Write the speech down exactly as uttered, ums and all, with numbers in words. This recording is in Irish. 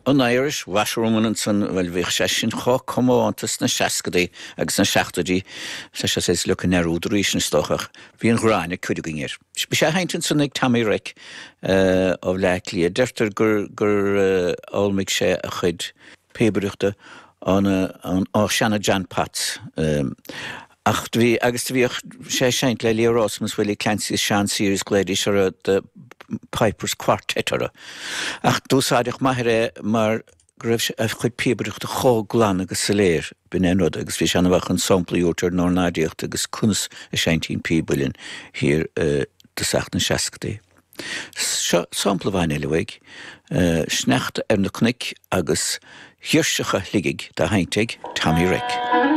An Irish Washerwoman ansan bhuel bhíodh sé sin chomh comónta sna seascadaí agus sna seachtóidí tá sé saghas leagtha i ndearúd arís is dócha ach bhí an ghráin ag cuid againn air. Bhí sé á sheinnt ansan ag Tommy Reck ó Bhleá Cliath. Deirtear gur gur fhoghlaimigh sé a chuid píobaireachta ón ó seana John Potts. Ach do bhí agus do bhíodh sé ag seinnt le Leo Rowsome, Willie Clancy, Sean Sears, glaoidís orthu The Pipers Quartet orthu. Ach d'úsáideadh m'athair é mar go raibh a chuid píobaireachta chomh glan agus soiléir, b'in é an rud, agus bhí sé an-mhaith chun samplaí a thabhairt ar an ornáidíocht agus conas a seinntí an píob uilleann thiar i dtosach na seascadaí. Seo sampla amháin eile uaidh, Sneachta ar na Cnoic agus Girseacha Shligigh dá sheinnt ag Tommy Reck.